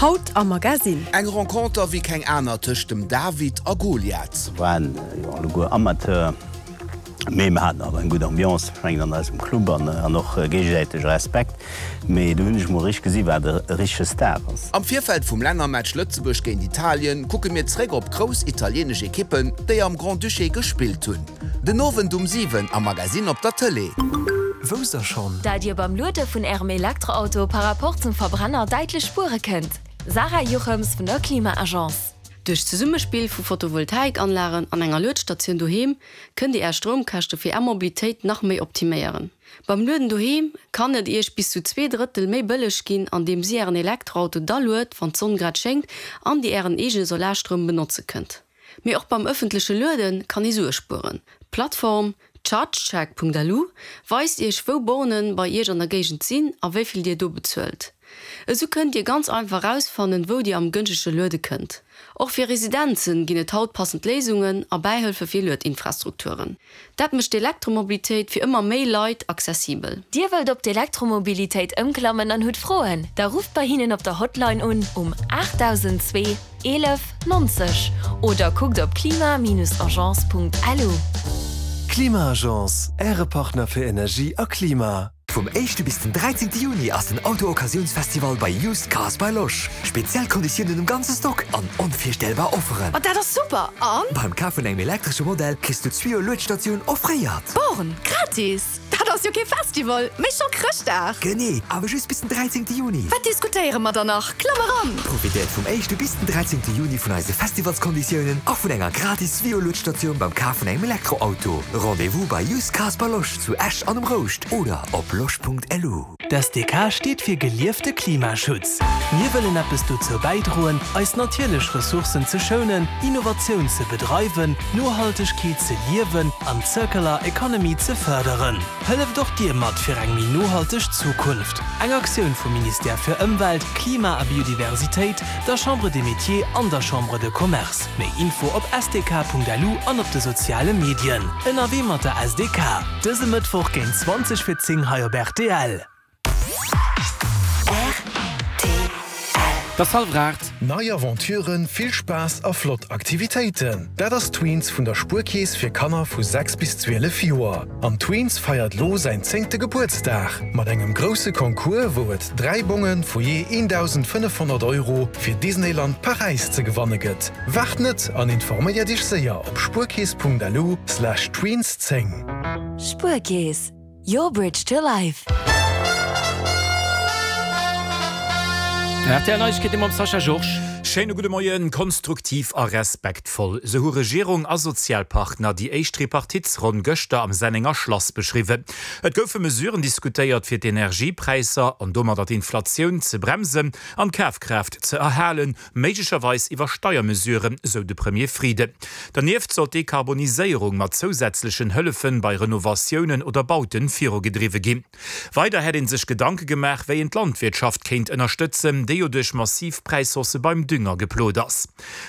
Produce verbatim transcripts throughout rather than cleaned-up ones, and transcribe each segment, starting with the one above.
Haut am Magasinn. Eng Renconter wéi keng aner tëscht dem David a Goliath. Waren jo alleguer Amateur, mee mer haten awer eng gutt Ambiance, ech mengen an eisem Club an an och géigesäitege Respekt. Mee do hunn ech mol richteg gesi wat e richtege Star ass. Am Virfeld vum Lännermatch Lëtzebuerg géint Italien kucke mir zréck op grouss italieenesch Ekippen, déi am Grand-Duché gespillt hunn. Den Owend um siwen am Magasinn op der Tëlee. Wousst der schonn? Dat Dir beim Luede vun Ärem Elektroauto par rapport zum Verbrenner däitlech spuere kënnt? Sarah Jochems vun der Klima-Agence. Duerch d'Zesummespill vu Photovoltaikanlagen an enger Luedstatioun doheem kënnt Dir Är Stroumkäschte fir Är Mobilitéit nach méi optiméieren. Beim Lueden doheem kann et Iech bis zu zwee Drëttel méi bëlleg ginn, andeems Dir Ären Elektroauto da luet, wann d'Sonn grad schéngt an Dir Ären eegene Solarstroum benotze kënnt. Mee och beim ëffentleche Luede kann ee Sue spueren. D'Plattform chargecheck.lu weist Iech wou Bornen bei Iech an der Géigend sinn a wéi vill Dir do bezuelt. Esou kënnt Dir ganz einfach erausfannen, wou Dir am gënschtege luede kënnt. Och fir Residenzen ginn et haut passend Léisungen a Bäihëlfe fir Luedinfrastrukturen. Dat mécht d'Elektromobilitéit fir ëmmer méi Leit accessibel. Dir wëllt op d'Elektromobilitéit ëmklammen an hutt Froen? Da rufft bei hinnen op der Hotline un um aachtdausendzwee eelef nonzeg oder kuckt op klima-agence.lu. Klima-Agence, Äre Partner fir Energie a Klima. Vum éischte bis den dräizéngte Juni ass den Auto-Occasiounsfestival bei Used Cars by Losch. Speziell Konditiounen um ganze Stock an onvirstellbar Offeren. Oh dat ass super! An? Beim Kaf vun engem elektresche Modell kriss du d'Swio Luedstatioun offréiert. Born gratis? Dat ass jo kee Festival, mee scho Chrëschtdag! Genee, awer just bis den dräizéngte Juni. Wat diskutéiere mer dann nach? Klamm eran! Profitéiert vum éischte bis den dräizéngte Juni vun eise Festivalskonditiounen a vun enger gratis Swio Luedstatioun beim Kaf vun engem Elektroauto. Rendez-vous bei Used Cars by Losch zu Esch an um Rouscht oder op losch.lu. D S D K steet fir geliefte Klimaschutz. Mir wëllen eppes dozou bäidroen, eis natierlech Ressourcen ze schounen, Innovatioun ze bedreiwen, Nohaltegkeet ze liewen an d'Circular Economy ze fërderen. Hëlleft och Dir mat fir eng méi nohalteg Zukunft. Eng Aktioun vum Ministère fir Ëmwelt, Klima a Biodiversitéit, der Chambre des Métiers an der Chambre de Commerce. Méi Info op S D K Punkt L U an op de soziale Medien. Ënnerwee mat der S D K. Dëse Mëttwoch géint zwanzeg vir zéng hei op R T L. Et ass hallwer aacht. Nei Aventuren, vill Spaass a flott Aktivitéiten, dat ass Tweens vun der Spuerkeess fir Kanner vu sechs bis zwielef Joer. An Tweens feiert lo säin zéngte Gebuertsdag mat engem grousse Concours, wou et dräi Bonge vu jee eendausendfënnefhonnert Euro fir Disneyland Paräis ze gewanne gëtt. Waart net an informéier dech séier op spuerkeess Punkt L U slash tweens zéng. Spuerkeess, your bridge to life. R T L Neiegkeete mam Sascha Georges. Schéine gudde Moien. Konstruktiv a respektvoll, sou hu Regierung a Sozialpartner déi éischt Tripartitsronn gëschter am Sennenger Schlass beschriwwen. Et goufe Mesuren diskutéiert, fir d'Energiepräisser an domadder d'Inflatioun ze bremsen an d'Kafkraaft ze erhalen, méiglecherweis iwwer Steiermesuren, sou de Premier Frieden. Dernieft soll d'Dekarboniséierung mat zousätzlechen Hëllefe bei Renovatiounen oder Bauten virugedriwwe ginn. Weider hätt ee sech Gedanke gemaach, wéi een d'Landwirtschaft kéint ënnerstëtzen, déi jo duerch massiv Präishaussë beim Dünger geplot ass.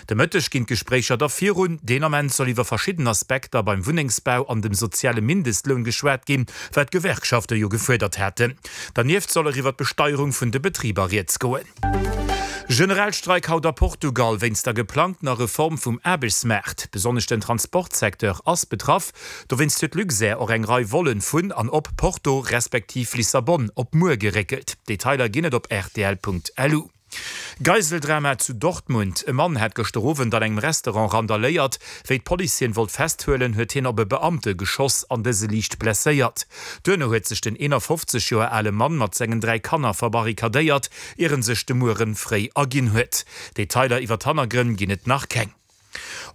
De Mëtteg ginn d'Gespréicher da virun. Deen Ament soll iwwer verschidden Aspekter beim Wunnengsbau an dem soziale Mindestloun geschwat ginn, wat d'Gewerkschafte jo gefuerdert haten. Dernieft soll och iwwer d'Besteierung vun de Betriber rieds goen. Generalstreik haut a Portugal wéinst der geplangtener Reform vum Aarbechtsmaart. Besonnesch den Transportsecteur ass betraff. Dowéinst huet Luxair och eng Rei Vollen vun an op Porto respektiv Lissabon op muer geréckelt. Detailer ginn et op R T L Punkt L U. Geiseldrama zu Dortmund, E Mann hat gëschter Owend an engem Restaurant randaléiert. Wéi d'Police hien wollt festhuelen, huet hien op e Beamte geschoss an dëse liicht blesséiert. Duerno huet sech den eenafofzeg Joer ale Mann mat sengen dräi Kanner verbarrikadéiert, ier en sech de Mueren fréi erginn huet. Detailer iwwer d'Hannergrënn ginn et nach keng.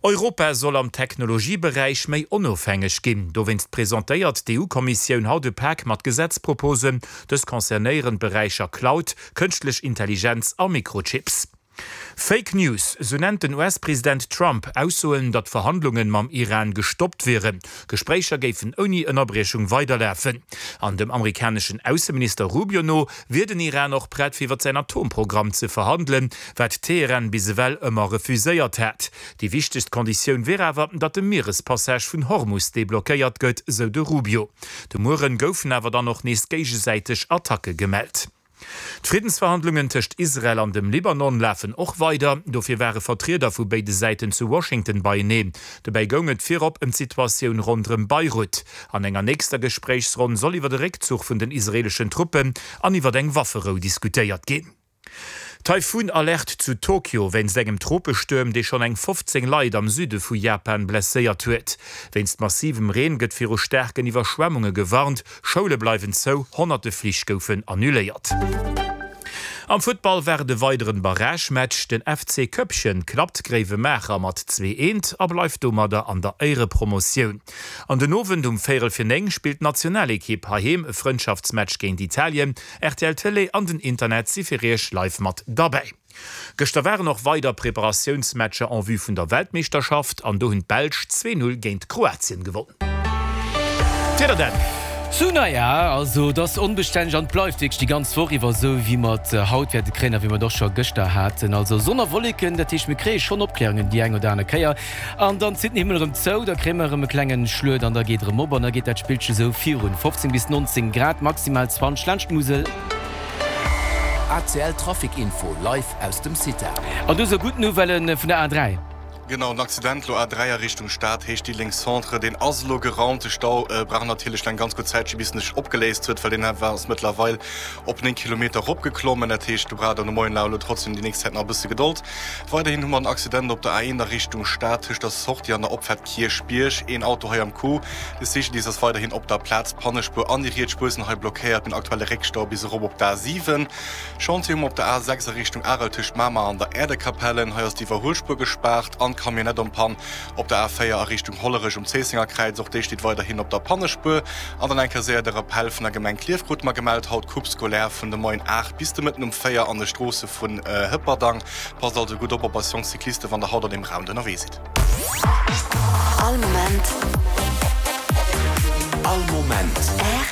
Europa soll am Technologieberäich méi onofhängeg ginn. Dowéinst presentéiert d'E U-Kommissioun haut e Pak mat Gesetzproposen. Dës concernéieren d'Beräicher Cloud, kënschtlech Intelligenz a Mikrochips. Fake News, sou nennt den U S-President Trump Aussoen, datt Verhandlunge mam Iran gestoppt wieren. Gespréicher géifen ouni Ënnerbriechung weiderlafen. An dem amerikaneschen Ausseminister Rubio no wier den Iran och prett fir iwwer säin Atomprogramm ze verhandelen, wat Teheran bis ewell ëmmer refuséiert hat. Déi wichtegst Konditioun wier awer, datt de Mierespassage vun Hormus deblockéiert gëtt, sou de Rubio. De Mueren goufen awer dann och nees géigesäiteg Attacke gemellt. D'Friddensverhandlungen tëscht Israel an dem Libanon lafen och weider. Dofir ware Vertrieder vu béide Säiten zu Washington beieneen. Dobäi goung et virop ëm d'Situatioun ronderëm Beirut. An enger nächster Gespréichsronn soll iwwer de Réckzuch vun den israeeleschen Truppen an iwwer eng Wafferou diskutéiert ginn. Taifun-Alerte zu Tokio wéinst engem Tropestuerm, dee schonn eng fofzéng Leit am Süde vu Japan blesséiert huet. Wéinst massivem Reen gëtt viru staarken Iwwerschwemmunge gewarnt, Schoule bleiwen zou, honnerte Flich goufen annuléiert. Am Futtball war et e weideren Barragematch, Den F C Köppchen klappt Gréiwemaacher mat zwee eent a bleift domadder an der Éierepromotioun. An den Owend um véierel fir néng spillt d'Nationalekipp heiheem e Frëndschaftsmatch géint Italien. R T L Tëlee an den Internet si fir iech live mat derbäi. Gëschter waren och weider Preparatiounsmatcher en vue vun der Weltmeeschterschaft an do hunn d'Belsch zwee Null géint Kroatien gewonn. D'Wieder dann. Sou, naja, also et ass onbestänneg an et bleift wierklech déi ganz Woch iwwer esou, wéi mer et haut wäerte kréien a wéi mer et och scho gëschter haten. Also Sonn a Wolleken, dat heescht mir kréie schonn Opklärungen déi eng oder aner Kéier an dann zitt den Himmel erëm zou, da kréie mer erëm e klenge Schluet an da geet erëm op an da geet dat Spillche sou virun. fofzéng bis nonzéng Grad, maximal zwanzeg laanscht d'Musel. A C L Trafic Info live aus dem CITA. An do sou gutt Nouvellë vun der A dräi. Genau, en Accident lo A dräi a Richtung Stad, Héicht Diddeleng Centre, deen ass elo geraumt. De Stau brauch natierlech eng ganz gutt Zäitche bis en sech opgeléist huet, well deen ass mëttlerweil op néng Kilometer eropgeklommen. Dat heescht, do braucht der de Moien elo trotzdem déi nächst Zäit nach e bësse Gedold. Weiderhin hu mer en Accident op der A eent a Richtung Stad tëscht der Sortie an der Opfaart Kierchbierg. Een Auto hei am Coup. De C G D I S ass weiderhin op der Plaz. D'Pannespuer an déi riets Spuer sinn hei blockéiert. Mir hunn aktuell e Réckstau bis erop op d'A siwen. Chantier hu mer op der A sechs a Richtung Arel tëscht Mamer an der Äerdekapelle. Hei ass d'Iwwerhuelspuer gespaart an d'Camionnette en panne op der A véier a Richtung Hollerech um Zéissenger Kräiz. Och déi steet weiderhin op der Pannespuer. An dann eng Kéier séier de Rappel vun der Gemeng Klierf krute mer gemellt, haut Coupe scolaire vun de Moien aacht bis de Mëtten um véier an de Stroosse vun Hëpperdang. Passt also gutt op op eis jonk Cyclisten, wann der haut an deem Round ënnerwee sidd. All Moment. All Moment. R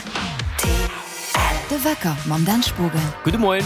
T L. De Wecker mam Dan Spogen. Gudde Moien.